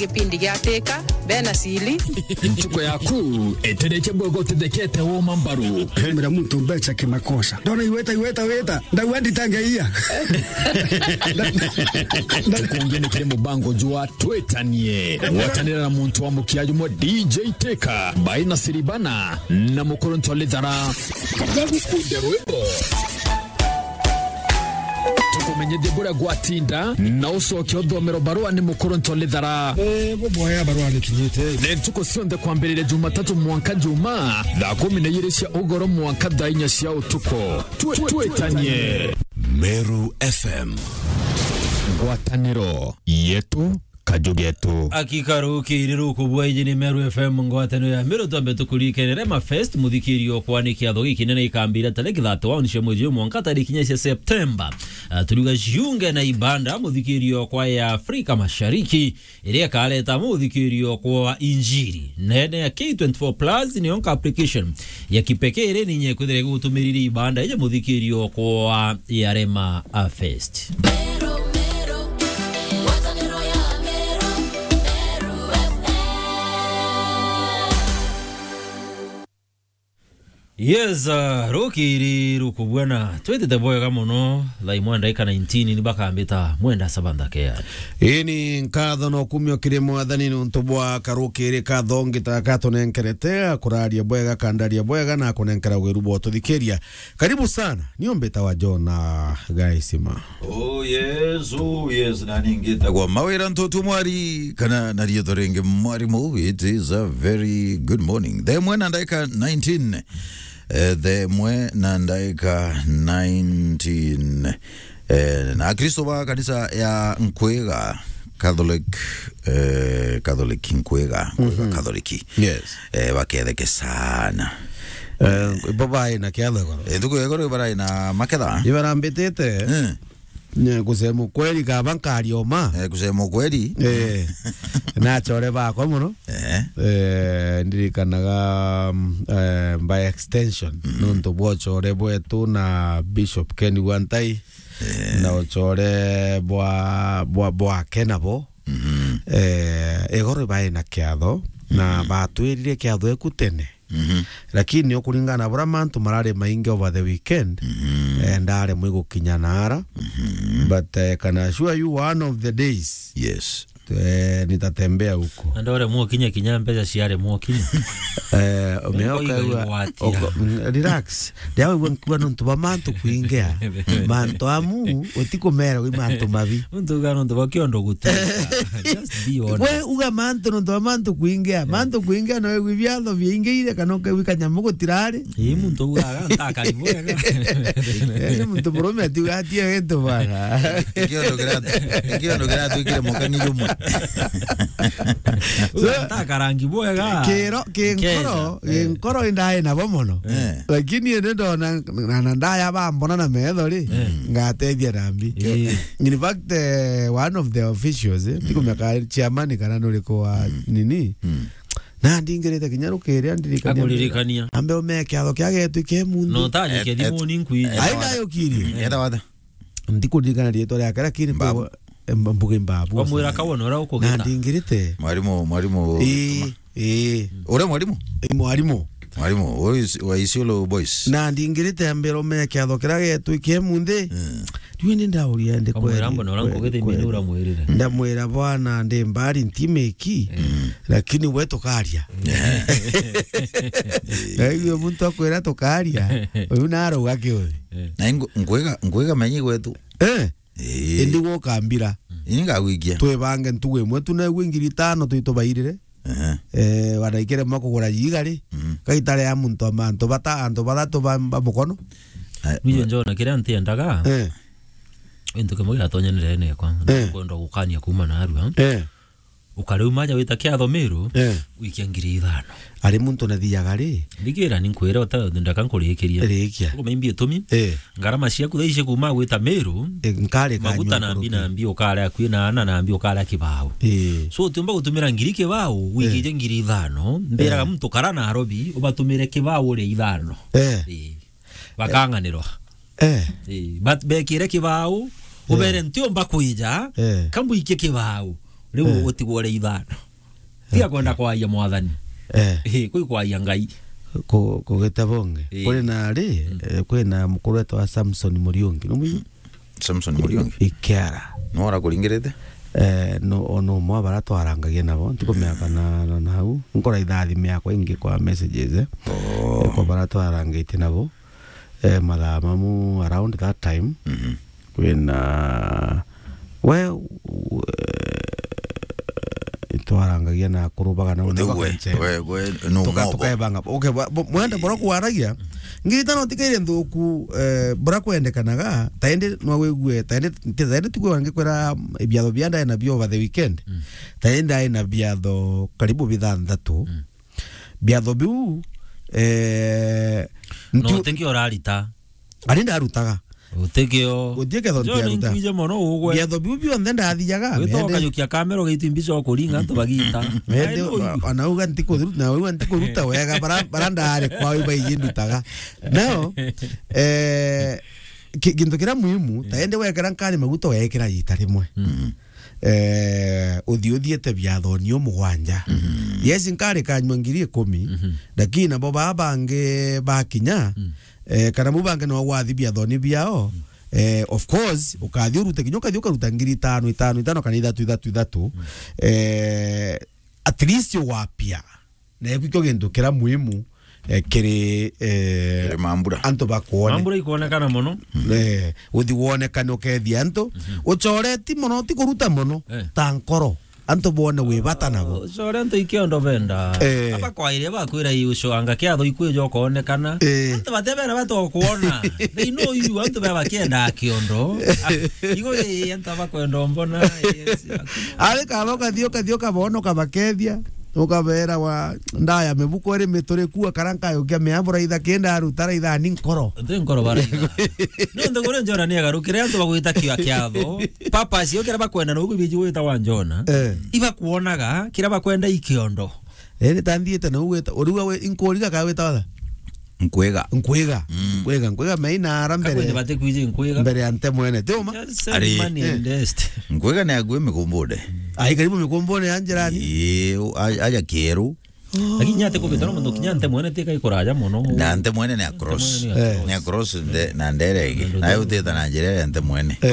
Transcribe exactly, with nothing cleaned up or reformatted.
Gipindi gia Teka, bena sili. Ntuko yaku, etereche bwega utithekete woma mbaru. Hemera muntu mbecha kimakosa. Ndona iweta, iweta, weta. Ndauga nditangeia. Tukungi ni kiri mubango jwa Twetanie. Gwatanira na muntu wa mukia jumwe D J Teka, Baina Siribana, na Mukuru Ntolithara. Bagukunde rwimbo. Tukumenyithie buria gwatinda, na ucoke uthomero barua ni Mukuru Ntolithara. Eh, buboya barua ni kinyite. Ni ntuku cionthe kwambiriria Jumatatu mwanka Juma, thaa kumi na ijiri cia ugoro mwanka thaa inya cia utuku. Twe-, twetanie. Meru F M. Ngwataniro yetu. Kaju getu. Akika rukiri rukubua iji ni Meru F M ngwataniro ya Meru, twambe tukurikene Rema Fest, muthikirio kwa ni kiatho gikinene ikambira tariki thirty-one cia mwezi uyu mwanka tariki inya cia September. Ah, turiuga jiunge na ibanda muthikirio kwa ya Afrika Mashariki, iria ikareta muthikirio kwa injiri. Nene ya K twenty-four plus ni yonka application ya kipekee iri ninye kwithira gutumiriri ibanda ije muthikirio kwa ya Rema Fest. Meru, Meru, ngwataniro ya Meru, Meru F M. Yes, uh, rukiri rukubwena. Twitite bwega muno. Thaa imwe ndaika nineteen ni bakambita mwenda sabantha kea. Ini nkatho no kumio kiri mwathani nuntu bwa karukiri katho ngita katunenkerete, akuraria bwega, kandaria bwega na kunenkera wiru bwa tuthikiria. Karibu sana. Nio mbitawa John, uh, Gaisima. Oh yes, oh yes, nani ngitagwa Mawira Ntutu Mwari, kana na riitwa ringi Mwarimu. It is a very good morning. Thaa imwe na ndaika nineteen. Eh, thaa imwe na ndaika nineteen. Eh, na Akristo ba kanisa ya Nkwega, Catholic, eh, Catholic Nkwega, Nkwega Catholic. Yes. Eh, baketheke sana. Eh, bo baina kiatho igoro. Eh, ntuku ya igoro barai na maketha. Ibarambitite. Eh. Nye kusema ukweli kaba nkarioma. Eh, kusema ukweli. Eh. Nachore bakwa muno. Eh. Eh, ndirikanaga, mm, eh, by extension, nuntu bwa uchore bwetu na Bishop Ken Wantai, eh, na uchore bwa, bwa, bwake nabo. Eh, igoro baina kiatho, na batwirire kiatho eku tene. Lakini ukuringana na buria mantu marari maingi over the weekend, eh, ndaremwe gukinya nara. But, eh, can assure you one of the days, yes, eh, nitatembea huko. Na ndoremwo kinya, kinya mbeca ciaremwo kinya. Eh, umeoka igwa, igwatia. Relax. Ndiawe igwa nkuwa nontu ba mantu kuingia. Mantu amu, utikumera wi mantu mabi. Untu uga nontu ba kiondo guti. Just be honest. We uga mantu nontu ba mantu kuingia. Mantu kuingia no igwi biatho biingiire kana ukaigwi kanyamu gutirari. Ii, muntu ugaga ntakari bwega. Yaani muntu murume atiuga atie gintu bana. Kiondo kiratu-, kiondo kiratwikire mukang'i jumwe. Uga ntakara rangi bwega. Kiro, kinkoro, kinkoro indai nabo mono. Eh. Lakini indi ndona na, na ndaya bambona na metho ri, ngatethia na mbi. Eh. In fact, eh, one of the officials, eh, tikumenya ka chairman kana nuriku wa nini. Na ndingirite kinya rukiri andirikania. Akuririkania. Ambe ume kiatho kia getu ke mundu. No tanye kethimuni nkwiji. Ai nayo kiri. Etha watha. Ndikuririkana riitwa riake, lakini Mbabu. Mbu-, em, Mbuge Mbabu. Wamwira kawona uria ukugita. Na ndingirite. Mwarimu, mwarimu. Ii, ii. Uria mwarimu? Ii, mwarimu. Mwarimu, wa Is-, wa Isiolo Boys. Na ndingirite ambira ume kiatho kiria getu kie munthi. Mm. Riu ni ndauria ndi kweri. Wamwira mbona uria nkugite kweri. Ndamwira bwana ndi mbari ntimiki. Mm. Lakini we tukaria. Yeah. Na igwe muntu akwira tukaria. Uyu narauga kiuthi. Na ingo-, ngwega, ngwega menyi gwetu. Eh? Ii. Indi gukambira. Ini ngagwikia. Twibange ntugu imwe tu na igwe ngiri itano twitubairire. Ehe. Eh, wanaikire mwa kugura yiga ri? Mm. Gaitare ya muntu ama antu bata, antu bathatu ba, ba mukono. Eh, niyo njona kiria ntiendaga. Eh. Gintu kimwe giatonyanire nekwa. Eh. Kwenda gukania kuma narua. Eh. Ukariuma aja wita kiatho Miru, eh, wikia ngiri ithano. Ari muntu nathiaga ri? Ndigira ni nkwire uta ndaka nkurikiria. Rikia. Uko maimbi itumi. Eh. Ngarama ciaku thaa ici kuma gwita Miru, eh, nkare maguta na mbi na mbi ukare akui na ana na mbi ukare kibao. Eh. So utiumba gutumira ngiri kibao, wikije ngiri ithano, mbiraga muntu kara Nairobi, ubatumire kibao ria ithano. Eh. Eh. Bakang'anirwa. Eh. Eh, but bekire kibao, ubere ntiumba kwija, eh, kambuikie kibao. Riu Eh. utigwo ri ithano. Tiga Okay. kwenda kwaria mwathani. Eh. Eh, kwi kwaria Ngai. Ku-, kugita bonge. Eh. Kuri na ri, Mm. eh, kwi na mukuru wetu wa Samson Muriungi. No mwi-, Samson Muriungi? Ikiara. No arakuringirite? Eh, no, o no mwa bara twarangagia nabo. Ntikumeaka na, na, na hau. Nkora ithathime yakwa ingi kwa messages, eh. Oh. Eh, kwa bara twarangite nabo. Eh, mathaa mamu around that time. Mhm. Kwina we, we, itwarangagia na kurubaga na Uti na we, bakenche. We, we, no Tuka-, mobo. Tukaebanga. Okay, wa-, bo-, mwende bora kwaragia. Ngirita no tikaire nthuku, eh, bora kwendekanaga, taende no wigue, taende, taende tu kwange kwera ibiatho bia ndae na bio over the weekend. Mm. Taende ai na biatho karibu bithanthatu. Mm. Biatho biu, eh, No, ntu- utikio urarita. Ari ndarutaga. Utikio. Utie ketho John ntiaruta. Nkwije mono ugwe. Biatho biu bionthe ndathiaga, Wita mende. Ukayukia kamera ugaiti mbica ukuringa antu bagita. Mende, Ai, no, ona uga ntikuruta, na uga ntikuruta wega, bara, bara ndare kwa uyu baiji ndutaga. Now, eh, ki-, kintu kiria muhimu, Mm. taende wekera nkari maguta wekera ita rimwe. Mm. Eh, uthi uthiete biathoni o mugwanja. Mhm. Yes, nkari kanywa ngiri ikumi, Mhm. lakini nabo baa bangi bakinya, Mm. eh, kana bu bangi no wathi biathoni biao, Mm. eh, of course, ukathi urute kinya ukathi ukaruta ngiri itano, itano, itano, kana ithatu, ithatu, ithatu. Mm. Eh, at least wapia. Na ekio gintu kiria muhimu, eh, kiri, eh, Kiri mambura. Antu bakwone. Mambura ikwonekana mono. Eh, uthi wonekane ukethia antu. Mhm. Ucoreti mono, ti kuruta mono, Eh. ta nkoro. Antu bone wi bata nabo. Ucore antu ikiondo benda. Eh. Aba kwa iria bakwira i ucoanga kiatho ikwijo kuonekana. Eh. Antu batebera batokuona. They know you, antu baba kienda kiondo. Igo i antu bakwenda mbona. Yes. Ari kaba ukathi, ukathi ukabona ukabakethia. Ukabeera wa ndaya mibuko iri mituri kuwa kara nkayukia miambura itha kinda aruta raitha ni nkoro. Nti nkoro baraitha. Nontu kuri Jona ni agarukire antu bagwita kia kiatho. Papa acio kira bakwenda no gwiji gwita wa Jona. Eh. Ibakuonaga kira bakwenda ikiondo. Eh, ni tanthiite na ugwita. Uriwa we inkuriga ka wita watha? Nkwiga. Nkwiga. Mm. Nkwiga, nkwiga maina ara mbere. Kakwende bate kwiji nkwiga. Mbere ya nte mwene. Ti uma? Just send Ari. Money and Eh. dust. Nkwiga ni agwe migumbune. Ai, karibu migumbune ya njirani. Ii, u-, a-, aja kieru. Lakini nyate kubita no muntu kinya nte mwene tika ikuraja mono. Na nte mwene ni across. Nte mwene ni Eh. Ni across. Across nde, na ndere ingi. Na Nde yo utita na njira ya nte mwene. Eh.